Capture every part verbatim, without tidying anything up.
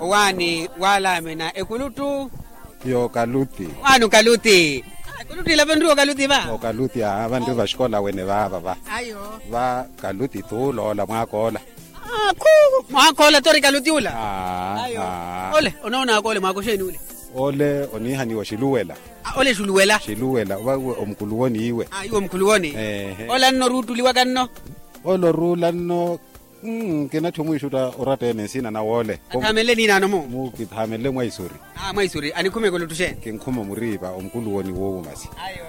Owaani waalaamina ekuluttu. Yookaluti. Owaani okaluti. Ekuluttu ila vanriwa okaluti va? Okaluti aa vanri vaxikola wene vaava va. Ayo. Va kaluti tuuloola mwaakoola. Akhu. Mwaakoola tori kaluti ula. Ayo. Ole onoonaka ole mwaaka oxeeni ule? Ole oniihaniwa oxiluwela. Ole xuwela. Xiluwela va iwe omukuluwoni iwe. Ayo omukuluwoni. Ole anno oruuttuliwaka nno? Ole oruula nno. Kinatthi omwiixutta oratta ene nsina nawe ole. Athaamenle niinaano mu? Mu kithaamenle mwaisuri. Mwaisuri anikhuma ekuluttu xeeni? Kinkhuma omuriipa omukuluwoni woowo masi. Ayo.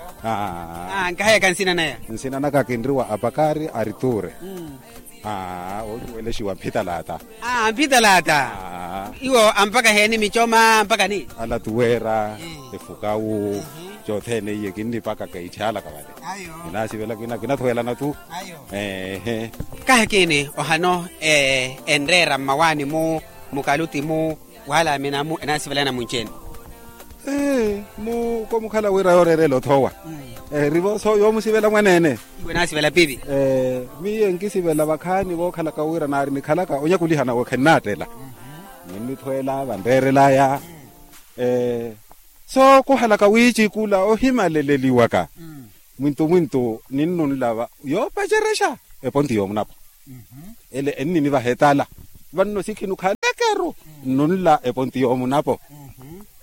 Nkahayaka nsina naya? Nsina naka kinriwa apakari ariture. Ocuwelexiwa mphitalaata. Mphitalaata. Iwo ampaka heeni micoma ampaka ni? Alatuweera efukawu. Cothene iye kinnipakaka itthyaalaka vale. Kinasivela kinathuwelana tu. Eehe. Kahi kiini ohano enreera mmawaani-mu mukaluti-mu waalaamina-mu enaasivelana munci-ene? Mu komukhala wira yooreerela othowa. Erivo so yoomusivela mwaneene. Iwe naasivela pivi? Miyo enkisivela vakhaani vookhalaka wira naari nikhalaka onyakulihana we khennattela. Ninnithweela vanreerelaya. So kuhalaka wiicikula ohimaleleliwaka. Mwintu mwintu ninnunlava yoopacerexa eponti yoomunapo. Ele enninivaha etala. Vanno sikhinu khalekeru nnunla eponti yoomunapo.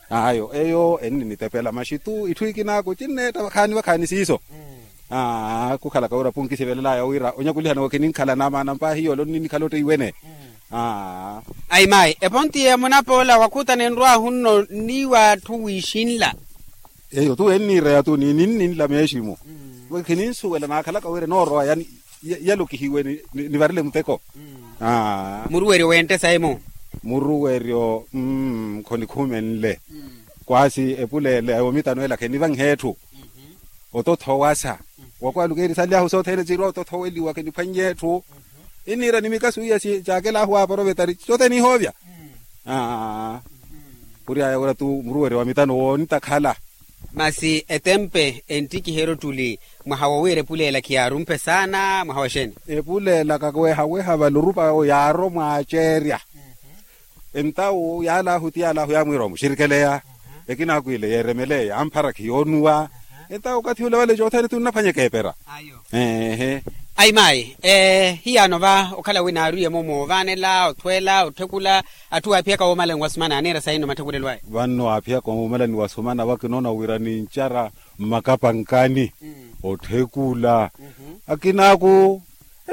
Ayo eyo enninitepela maxi tu itthu ikinaaku cinneetta vakhaani vakhaani siiso. Kukhalaka wira punkisivelelaya wira onyakulihana we kininkhala naamaana mpaahi yoola onninikhala otteyi wene. Ayi mayi eponti yoomunapo ola wakhuta nenrwahu nno nniiwa atthu wiixinla. Eyo tu enniireya tu ninninla meeximu. Khininsuwela naakhalaka wira enoorowa yalokihiwe nivarile muteko. Muruweryo wente sayi-mu? Muruweryo. Khonikhumenle. Kwaasi epuleela yoomitano ela khenivanhe etthu. Otothowasa. Wakwaluka eri sanly'ahu sothene cirwa otothoweliwa kheniphwannye etthu. Inniira ni mikasu iya caakel'ahu waaporovetari cothene ihoovya. Khury'aya wira tu muruweryo wa mitano woonitakhala. Masi etempe enttikiheryo ottuli mwaha wowiira epuleela khiyaarumpe saana mwaha wa xeeni? Epuleela kawehaweha vale orupa yaaro mwaaceerya. Entawu yaal'ahu ti yaal'ahu yaamwiira omuxirikeleya. Ekinaaku ile yeeremeleya yaamphara khiyoonuwa. Entawu okathi ule vale cothene ti onnaphwanyeka epera. Ayi mayi hiyaano va okhala wi naarwiye-mu moovaanela othweela otthekula. Atthu aaphiyaka woomalani wasumana aneera sayi-no matthekulelo aya? Vanno aaphiyaka woomalani wasumana vakinoona wira nincara mmakapankani. Otthekula akinaaku.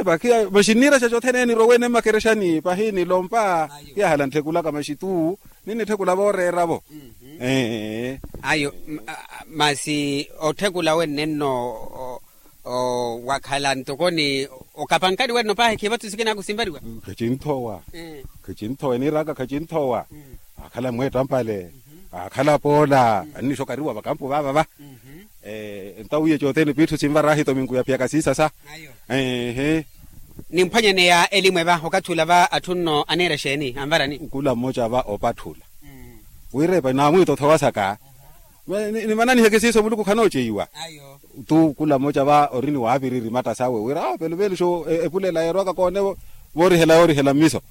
Epakiya maxi nniiraxa cothene enirowene mmakerexani pahi nilompa. Kiyahala nttthekulaka maxi tu ninnitthekula vooreera-vo. Ayo. Masi otthekula wenne nno wakhala ntoko ni okapankani wenno paahi khivathu sikinaaku sinvariwa. Khacinthowa. Khacinthowa eniiraka khacinthowa. Akhala mweettampale. Akhala poola annixokariwa vakampo vaava va. Entawiye cothene piitthu sinvara ahi tominku yaphiyaka siisasa. Eehe. Nimphwanyaneya elimwe va okathi ula va atthu nno aneera exeeni anvarani? Nkula mmoca va opatthula. Wiirepa naamwiita othowasaka. Nimananiheke siiso muluku khanooceyiwa. Tu kula mmoca va ori ni waapiriri matta sawe wira pelupeluxo epulela yeerwaka koone. Voorihela yoorihela mmiso.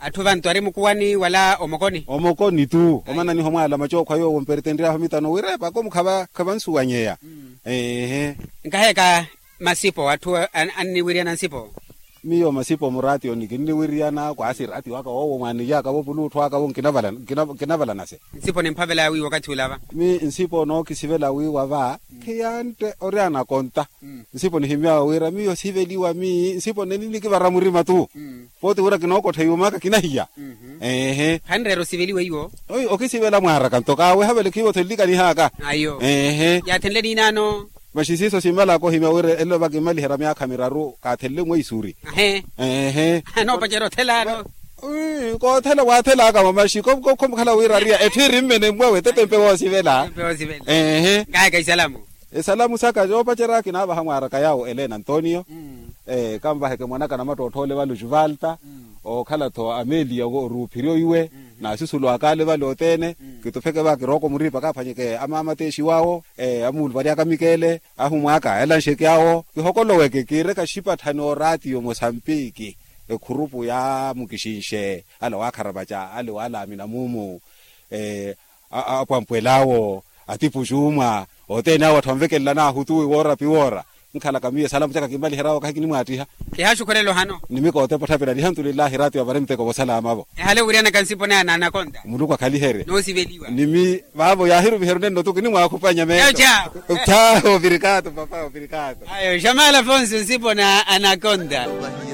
Atthu vantu ari mukuwani wala omokoni? Omokoni tu omananiha omwaala macookhwa yoowo mpertenry'ahu mitano wira epako mukhavansuwanyeya. Eehe. Nkaheka masipo atthu anniwiryana nsipo? Miyo masipo muraatiyoni kinniwiryana kwaasi raatiyo aka woowo mwaaniyaka vo puluuttho aka vo nkinavala nase. Nsipo nimphavela wiiwa okathi ula va? Mi nsipo nookisivela wiiwa va khiyantte oryana konta. Nsipo nihimy'awe wira miyo siveliwa mi nsipo neninikivara murima tu. Pooti wira kinookottha iwe mwaaka kinahiya. Eehe. Khanreera osiveliwa iwo? Okisivela mwaaraka nto kaaweha vale khiiwo-tho nlikanihaaka. Ayo. Eehe. Yaathenle niinaano? Maxi siiso simmalaka ohimya wira elelo vakimmaliherya myaakha miraru kaathenle mweisuri. Eehe. Anoopacerya othela ano? Koothela waathelaka mamaxi khomukhala wira ariya etthu iri mmene mmwawe tetempe woosivela. Eehe. Nkaheka isalamu. Esalamu saka yoopacerya kinaavaha mwaaraka yaawo elena antonio. Kanvaheke mwanaka namattootthole vale oxivalta. Ookhala-tho amelia oruuphiryo iwe. Naasusulwaka ale vale othene. Kitufeke va kirooko muriipa kaaphwanyeke amaamateexiw'awo. Amuuluvaryaka mikeele ahumw'aka elanxeke awo kihokoloweke kiireka xipatthani ooraatiyo mosampiki. Ekhurupu yaamukixinxe ale waakharapaca ale waalaamina muumu. Apwampwel'awo atipuxuumwa othene awo atthu anvekelela wuutu wi woora piwoora. Nkhalaka miyo esalamu caka kimmaliheryawo kahi kinimwaattiha. Kihaaxukhurela ohano. Nimikoote potthapilanyi alhamdulillahi raati wapari muteko vosalama vo. Ehale wiriyanaka nsipo naya na anakonta. Muluku akhaliherye. Noosiveliwa. Nimi vaavo yaahiruviheryo nenno tu kinimwaakhupanya meetto. Thawo ovirikaato papa ovirikaato. Ayo xamala afonso nsipo na anakonta.